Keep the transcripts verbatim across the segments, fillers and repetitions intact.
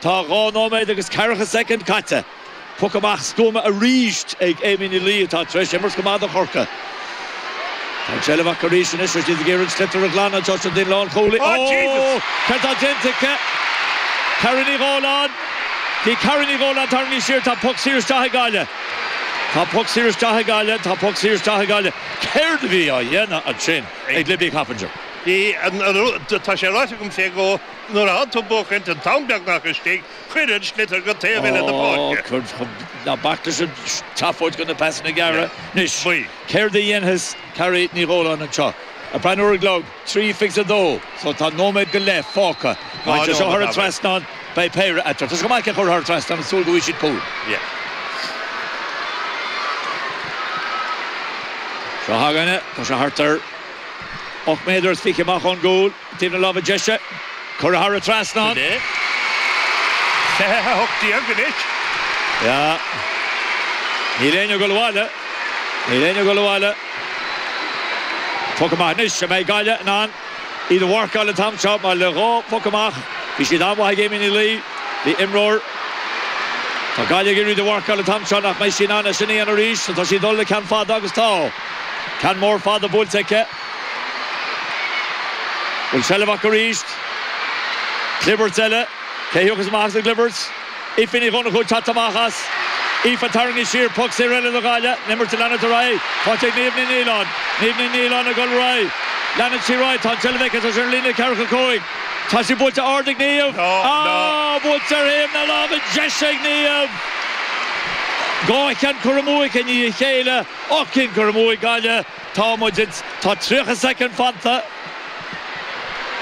Tá dhá nóiméad agus ceathracha soicind caite. Poc amach stuama arís ag Amy Ní Laoi atá tar éis imirt go maith do Chorcaigh. Tá an tseilbh acu arís anois agus iad ag iarraidh an sliotar a ghlanadh anseo sa dún lánchúlaí. Oh Jesus! Cad tá déanta aici? Carrie Ní Dhóláin. Bhí Carrie Ní Dhóláin tarraingthe siar, tá poc saor isteach ag Gaillimh. Tá poc saor isteach ag Gaillimh, tá poc saor isteach ag Gaillimh. Céard a bhí á dhéanamh ansin ag Libby Coppinger? Bhí, tá sé ráite agam fé dhó, nuair a tánn tú buachaint an t-am beagnach istigh, cuir an sliotar go taobh eile na páirce. Ná bac leis an tseafóid go na pasanna gearra. Anois, céard a dhéanfas Carrie Ní Dhóláin anseo? Ag breathnú ar an gclog, trí fiche a dó, so tá nóiméad go leith fágtha. Má théann sé seo thar an trasnán, beidh péire eatarthu. Tá sé go maith é a chur thar an trasnán ag súil go bhfaighidh siad cúl. Seo chugainn é, tá sé thart ar ocht méadar is fiche amach ón gcúl, taobh na láimhe deise, curtha thar an trasnán. Sin é. Fiche a hocht déag anois. Yeah. Níl éinne ag dul abhaile. Níl éinne ag dul abhaile. Poc amach anois. An mbeidh Gaillimh in ann iad a mharcáil an t-am seo mar le dhá phoc amach bhí siad an-mhaith ag Amy Ní Laoi. Bhí imreoir Tá Gaillimh ag iarraidh iad a mharcáil an t-am seo nach mbeidh sí in ann é sin a dhéanamh arís. So tá sí ag dul le ceann fada agus tá. Ceann mór fada buailte aici. Bhfuil seilbh acu arís? Clibirt eile. Cé a thiocfas amach as an gclibirt? Aoife Ní Dhonnchú ag teacht amach as. Aoife tarraingthe siar. Poc saor eile do Ghaillimh. An imirt ag leanúint ar aghaidh. Faighte ag Niamh Ní Nialláin. Niamh Ní Nialláin ag dul ar aghaidh. Leanann sí ar aghaidh. Tá an tseilbh aici. Tá sí ar an líne ceathracha cúig. Tá sí buailte ard ag Niamh. Ah! Buailte ar thaobh na láimhe deise ag Niamh! Dhá cheann curtha amú aici i ndiaidh a chéile. Ocht gcinn curtha amú ag Gaillimh. Tá muid ins. Tá tríocha soicind fanta.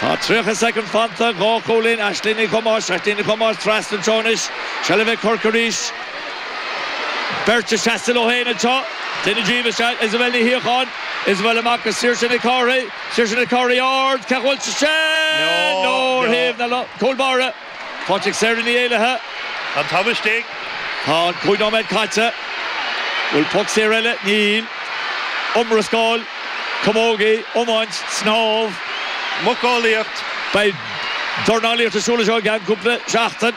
Tá tríocha soicind fanta. Dhá chúilín. Aisling Ní Thomáis. Aisling Ní Thomáis trasna anseo anois. Seilbh ag Corcaigh arís. Beirt ag seasamh leo féin anseo. Duine díobh is ea Isabel Ní Shíocháin. Isabel amach go Saoirse Nic Cárthaigh. Saoirse Nic Cárthaigh ard. Cé bhfuil sé sin? No, ar thaobh na cúl báire. Faighte ag Sarah Ní Éallaithe. An t-am istigh. Tá an cúig nóiméad caite. Bhfuil poc saor eile? Níl. Iomrascáil, camógaí, iomáint, snámh. Muiceolaíocht. Beidh dornálaíocht ar siúl anseo i gceann cúpla seachtain.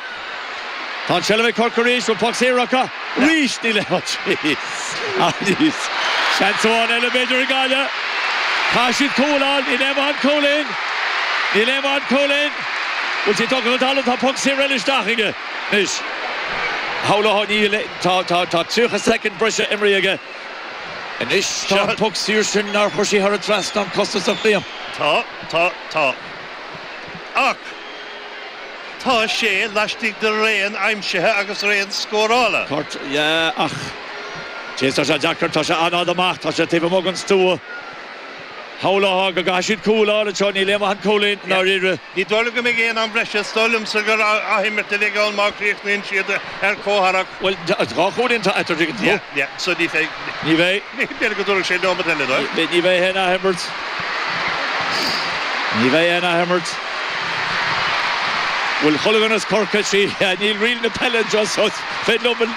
Tá an tseilbh ag Corcaigh arís. Bhfuil poc saor acu? Arís níl aon Jeez. Seans amháin eile b'fhéidir ag Gaillimh. Caithfidh siad cúl a fháil. Níl aon mhaith an cúilín. Níl aon mhaith an cúilín. Bhfuil sí tugtha chun talaimh? Tá poc saor eile isteach aige anois. Shamhlófá níl. Tá tá tá tríocha soicind breise imrithe aige anois. Tá an poc saor sin nár chuir sí thar an trasnán costasach Liam. Tá, tá, tá. Ach tá sé laistigh de raon aimsithe agus raon scórála. Cort, yeah, ach jeez tá sé deacair, tá sé an-fhada amach, tá sé taobh amuigh den stua. Shamhlófá go gcaithfidh siad cúl a fháil anseo, níl aon mhaith an cúilín i ndáiríre. Ní dóigh liom go mbeidh aon am breise, is dóigh liomsa gur athimirt a bheidh ann má chríochnaíonn siad ar comhtharrac. Bhuel, dhá chúilín atá eatarthu, tuigeann tú. Yeah, yeah, so ní bheidh. Ní bheidh. B'fhéidir go dtabharfaidh sé nóiméad eile dóibh. Ní bheidh aon athimirt. Ní bheidh aon athimirt. Bhfuil chuile dhuine as Corcaigh, sí, níl riail na peile anseo so is féidir liom an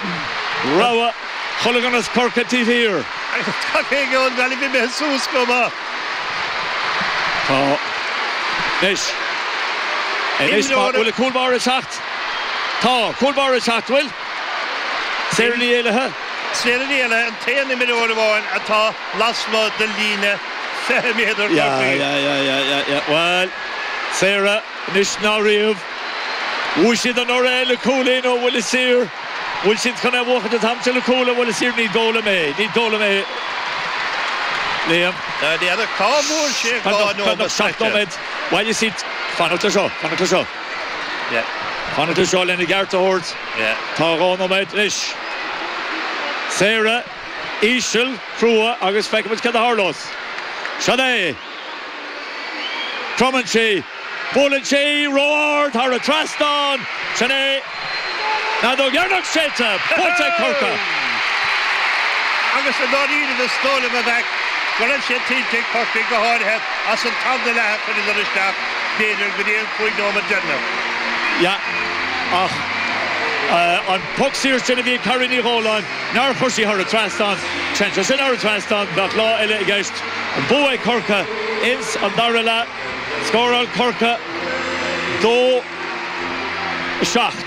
rogha, chuile dhuine as Corcaigh taobh thiar. Tá éinne ón Ghaillimh imithe suas go maith. Tá. Anois. Anois, bhfuil an cúl báire ag teacht? Tá, cúl báire ag teacht, bhfuil? Sarah Ní Éallaithe. Sarah Ní Éallaithe an t-aon imreoir amháin atá lasmuigh den líne fiche méadar Yeah, yeah, yeah, yeah, yeah, yeah. Bhuel, Sarah, anois ná riamh. Bhuaigh siad anuraidh le cúilín ó bhuille saor. Bhfuil siad chun é a bhuachaint an t-am seo le cúl ó bhuille saor? Ní dóigh liom é. Ní dóigh liom é, Liam. N'fheadar cá bhfuair sé dhá Beagnach, nóiméad beagnach seacht caite. nóiméad. Bhuel, you see, fanacht le seo, fanacht le seo. Yeah. Fanacht le seo lena gceart a thabhairt. Yeah. Tá dhá nóiméad anois. Sarah, íseal, crua agus feicfimid cad a tharlós. Seo é. Cromann sí. Buaileann sí ró-ard thar an trasnán. Sin é. An fheadóg dheireanach séidte. Buaite ag Corcaigh. Agus i ndáiríre is dóigh liom a bheadh go raibh sé tuillte ag Corcaigh go háirithe as an tarna leath a chuireadar isteach, b'fhéidir, go dtí an cúig nóiméad deireanach. Yeah, ach an poc saor sin a bhí ag Carrie Ní Dhóláin, nár chuir sí thar an trasnán, téann sé sin thar an trasnán, bheadh lá eile i gceist. An bua ag Corcaigh ins an dara leath. Scóráil Corcaigh dó a seacht.